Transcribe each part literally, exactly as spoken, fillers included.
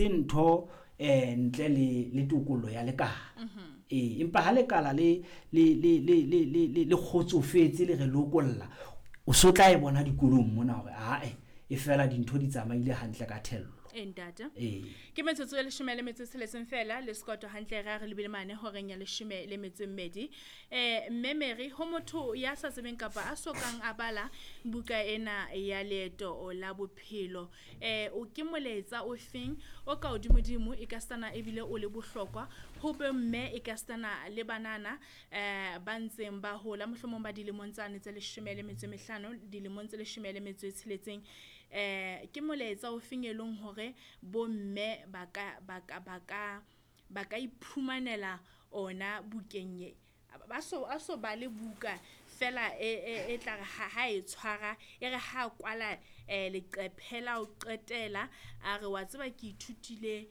Ntho eh ntle le le tokollo ya lekala. Ee, empa ha lekala le le le le le le le kgotsofetse le re lokolla, o so tla e bona dikolong mona hore ae e fela dintho di tsamaile hantle ka thello. E ntate. Ee. Ke metsotso e leshome le metso e tsheletseng fela le sekoto hantle re a re lebile mane horeng ya leshome le metso e mmedi. Eh mme Mary, ho motho ya sa tsebeng kapa a sokang a bala buka ena ya Leeto la Bophelo, eh o ke molaetsa o feng o ka hodimodimo e ka stana ebile o le bohlokwa ho bomme e ka stana le banana eh ba ntseng ba hola, mohlomong ba dilemong tsane tse leshome le metso e mehlano, dilemong tse leshome le metso e tsheletseng, eh ke molaetsa o feng e leng hore bomme ba ka ba ka ba ka ba ka iphumanela ona bukeng e? Ba so a so bale buka fela e e e tla re ha ha e tshwara e re ha kwala eh leqephe la ho qetela a re wa tseba ke ithutile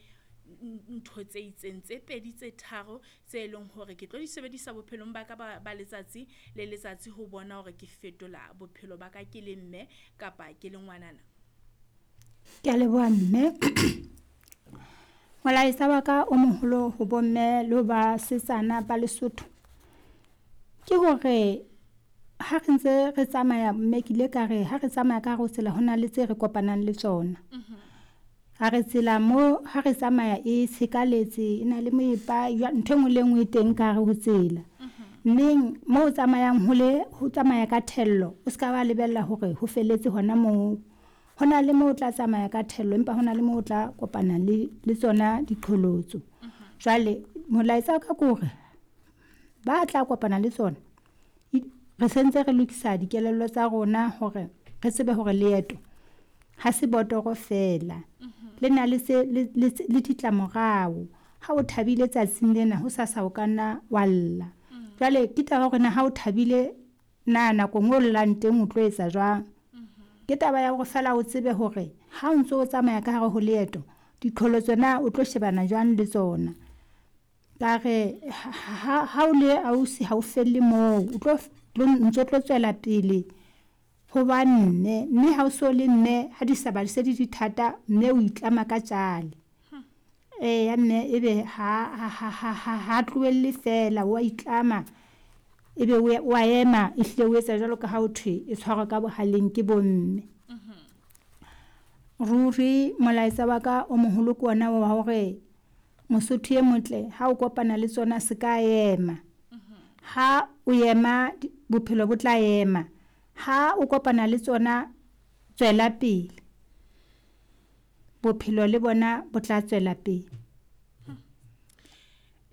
ntho tse itseng tse pedi tse tharo tse leng hore ke tlo di sebedisa bophelong ba ka ba ba letsatsi le letsatsi ho bona hore ke fetola bophelo ba ka ke le mme kapa ke le ngwanana. Ke a leboha mme. Molaetsa wa ka o moholo ho bomme le ho basetsana ba Lesotho ke hore ha re ntse re tsamaya, mme ke ile ka re ha re tsamaya ka hare ho tsela ho na le tse re kopanang le tsona. Ha re tsela mo ha re tsamaya e tshekaletse, e na le moepa, ntho e nngwe le e nngwe e teng ka hare ho tsela. Mmeng mo o tsamayang ho le ho tsamaya ka thello, o ska ba lebella hore ho felletse hona moo. Ho na le moo o tla tsamaya ka thello, empa hona le moo o tla kopana le le tsona diqholotso. Jwale molaetsa wa ka ke hore ba tla kopana le tsona, re sentse re lokisa dikelello tsa rona hore re tsebe hore leeto ha se botoro fela. Le na le se le le le ditlamorao. Ha o thabile tsatsing lena, hosasa o ka nna wa lla. Jwale ke taba ya hore na ha o thabile na nakong o llang teng o tlo etsa jwang? Ke taba ya hore feela o tsebe hore ha o ntso o tsamaya ka hare ho leeto, diqholotso na o tlo shebana jwang le tsona. Ka re ha ha o le ausi ha o felle moo, o tlo ntso tlo tswela pele ho ba mme. Mme ha o so le mme ha di sa ba se di di thata, mme o itlama ka tjale. Eya mme ebe ha ha ha ha ha tlohelle fela wa itlama, ebe o wa ema ehlile o etsa jwalo ka ha ho thwe e tshwarwa ka bohaleng ke bomme. Ruri molaetsa wa ka o moholo ke ona wa hore Mosotho e motle ha o kopana le tsona se ka ema. Ha o ema bophelo bo tla ema. Ha o kopana le tsona tswela pele. Bophelo le bona bo tla tswela pele.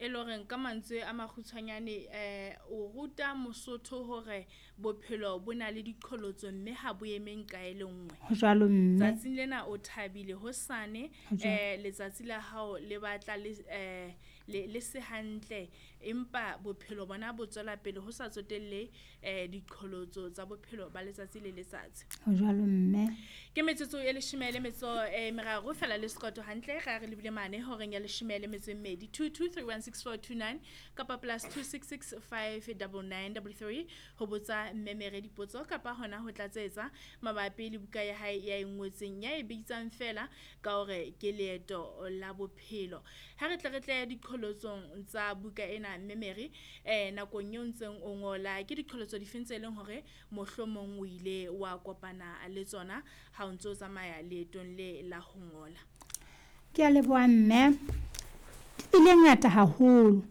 E le horeng ka mantswe a makgutshwanyane eh o ruta Mosotho hore bophelo bo na le diqholotso mme ha bo eme nqa e le nngwe. Ho jwalo mme. Tsatsing lena o thabile, hosane Ho jwalo. eh letsatsi la hao le batla le eh le le se hantle, empa bophelo bona bo tswela pele ho sa tsotelle eh diqholotso tsa bophelo ba letsatsi le letsatsi. Ho jwalo mme. Ke metsotso e leshome le metso e meraro fela le sekoto hantle re a re lebile mane horeng ya leshome le metso e mmedi. Two two three one six four two nine kapa plus two six six five double nine double three ho botsa mme Mary dipotso kapa hona ho tlatsetsa mabapi le buka ya hae ya e ngotseng ya e bitsang fela ka hore ke Leeto la Bophelo. Ha re tle re tle diqholotsong tsa buka ena mme Mary, eh nakong eo ntseng o ngola ke diqholotso difeng tse leng hore mohlomong o ile wa kopana le tsona ha o ntso tsamaya leetong le la ho ngola? Ke a leboha mme. Di bile ngata haholo,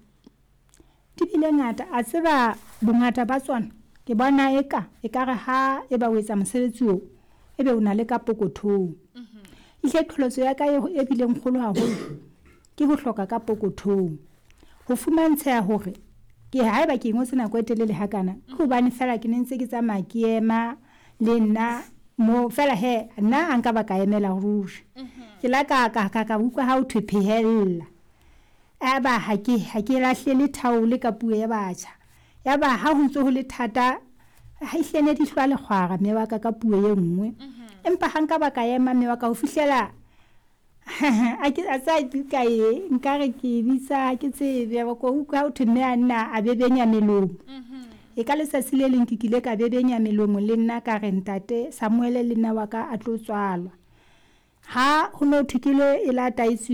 di bile ngata. A tseba bongata ba tsona ke bona eka ekare ha eba o etsa mosebetsi oo, ebe o na le ka pokothong. Ehlile qholotso ya ka e bileng kgolo haholo ke ho hloka ka pokothong. Ho fumantsheha hore ke haeba ke ngotse nako e telele hakana, ke hobane feela ke ne ntse ke tsamaya ke ema le nna mo fela he nna ha nka ba ka emela ruri. Ke la ka ka ka ka utlwa ha ho thwe phehella. Aba ha ke ha ke lahlele thaole ka puo ya batjha. Ya ba ha ho ntso ho le thata, ha ehlile ne di hlwa lekgwara mme wa ka ka puo e nngwe. Empa ha nka ba ka ema mme wa ka ho fihlela a ke a tseba buka e nkare ke bitsa ha ke tsebe ko utlwa ha ho thwe mme a nna a bebenya melomo. E ka letsatsi le leng ke kile ka bebenya melomo le nna ka re ntate Samuel le nna wa ka a tlo tswalwa. Ha ho no thwe ke lo e lata e tswile.